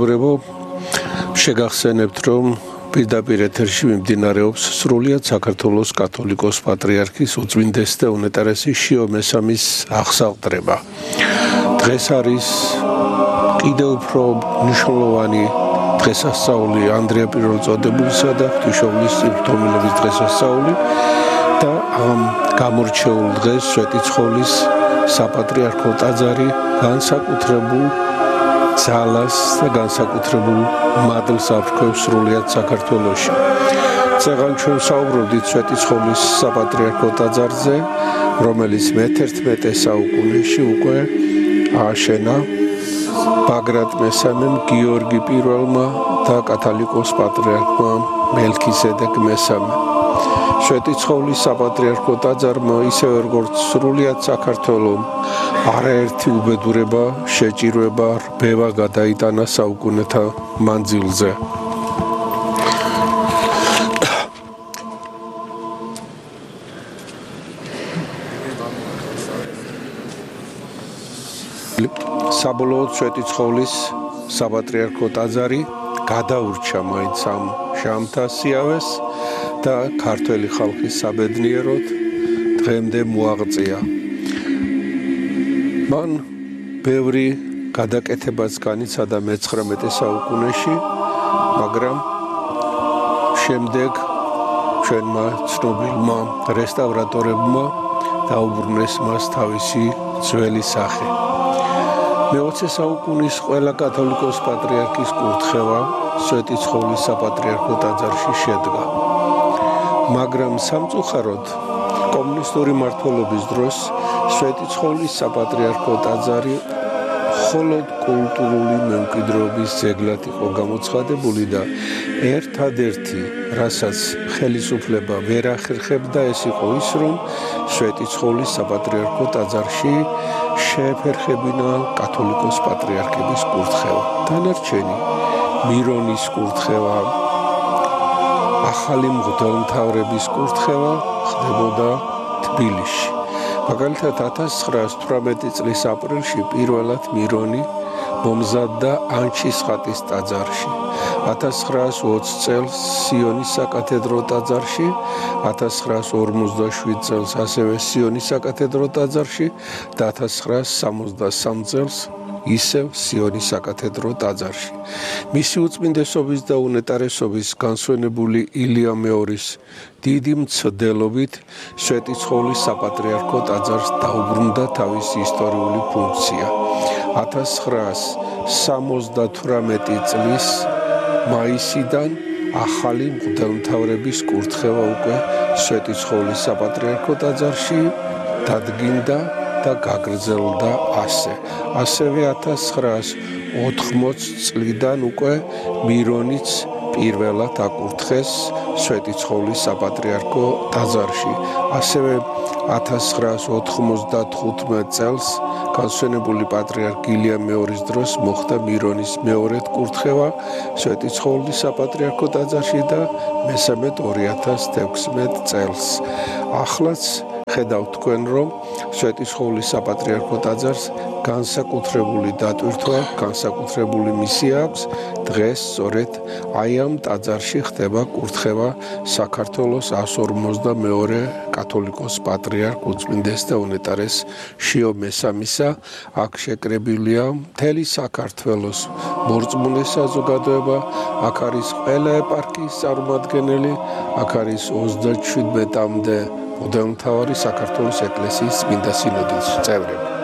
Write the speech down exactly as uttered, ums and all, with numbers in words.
მეგობრებო, შეგახსენებთ, რომ პირდაპირ ეთერში მიმდინარეობს სრულიად საქართველოს კათოლიკოს პატრიარქის უწმინდეს და უნეტარესი შიო მესამის აღსავტრება. დღეს არის კიდევ უფრო მნიშვნელოვანი დღესასწაული ანდრია პირველწოდებულისა და ღვთისმშობლის წირთომილების დღესასწაული და ამ გამორჩეულ დღეს სვეტიცხოვლის საპატრიარქო ტაძარი განსაკუთრებულ ძალას და განსაკუთრებულ მადლს აფრქვევს სრულიად საქართველოში. წეგან ჩვენ საუბრობდით სვეტიცხოვლის საპატრიარქო ტაძარზე, რომელიც მეთერთმეტე საუკუნეში უკვე ააშენა ბაგრატ მესამემ, გიორგი პირველმა და კათალიკოს პატრიარქმა მელქისედეკ მესამემ. სვეტიცხოვლის საპატრიარქო ტაძარმა ისევე როგორც სრულიად საქართველომ არაერთი უბედურება, შეჭირვება, რბევა გადაიტანა საუკუნეთა მანძილზე. საბოლოოდ სვეტიცხოვლის საპატრიარქო ტაძარი გადაურჩა მაინც ამ ჟამთა სიავეს და ქართველი ხალხის საბედნიეროდ დღემდე მოაღწია. მან ბევრი გადაკეთებაც განიცადა მეცხრამეტე საუკუნეში, მაგრამ შემდეგ ჩვენმა ცნობილმა რესტავრატორებმა დაუბრუნეს მას თავისი ძველი სახე. მეოცე საუკუნის ყველა კათოლიკოს პატრიარქის კურთხევა სვეტიცხოვლის საპატრიარქო ტაძარში შედგა. მაგრამ სამწუხაროდ კომუნისტური მმართველობის დროს სვეტიცხოვლის საპატრიარქო ტაძარი მხოლოდ კულტურული მემკვიდრეობის ძეგლად იყო გამოცხადებული და ერთადერთი, რასაც ხელისუფლება ვერ ახერხებდა, ეს იყო ის, რომ სვეტიცხოვლის საპატრიარქო ტაძარში შეეფერხებინა კათოლიკოს პატრიარქების კურთხევა. დანარჩენი მირონის კურთხევა, ახალი მღვდელმთავრების კურთხევა ხდებოდა თბილისში. მაგალითად ათას ცხრაას თვრამეტი წლის აპრილში პირველად მირონი მომზადდა ანჩისხატის ტაძარში. ათას ცხრაას ოცი წელს სიონის საკათედრო ტაძარში, ათას ცხრაას ორმოცდაშვიდ წელს ასევე სიონის საკათედრო ტაძარში და ათას ცხრაას სამოცდასამ წელს ისევ სიონის საკათედრო ტაძარში. მისი უწმინდესობის და უნეტარესობის განსვენებული ილია მეორის დიდი მცდელობით სვეტიცხოვლის საპატრიარქო ტაძარს დაუბრუნდა თავისი ისტორიული ფუნქცია. ათას ცხრაას სამოცდათვრამეტი წლის მაისიდან ახალი მღვდელმთავრების კურთხევა უკვე სვეტიცხოვლის საპატრიარქო ტაძარში დადგინდა და გაგრძელდა ასე. ასევე ათას ცხრაას ოთხმოცი წლიდან უკვე მირონიც პირველად აკურთხეს სვეტიცხოვლის საპატრიარქო ტაძარში. ასევე ათას ცხრაას ოთხმოცდათხუთმეტ წელს განსვენებული პატრიარქ ილია მეორის დროს მოხდა მირონის მეორედ კურთხევა სვეტიცხოვლის საპატრიარქო ტაძარში და მესამედ ორი ათას თექვსმეტ წელს. ახლაც ხედავთ თქვენ, რომ სვეტიცხოვლის საპატრიარქო ტაძარს განსაკუთრებული დატვირთვა, განსაკუთრებული მისია აქვს. დღეს სწორედ აი ამ ტაძარში ხდება კურთხევა საქართველოს ას ორმოცდამეორე კათოლიკოს პატრიარქ უწმინდეს და უნეტარეს შიო მესამისა. აქ შეკრებილია მთელი საქართველოს მორწმუნე საზოგადოება, აქ არის ყველა ეპარქიის წარმომადგენელი, აქ არის ოცდაშვიდმეტამდე მღვდელმთავარი საქართველოს ეკლესიის წმინდა სინოდის წევრები.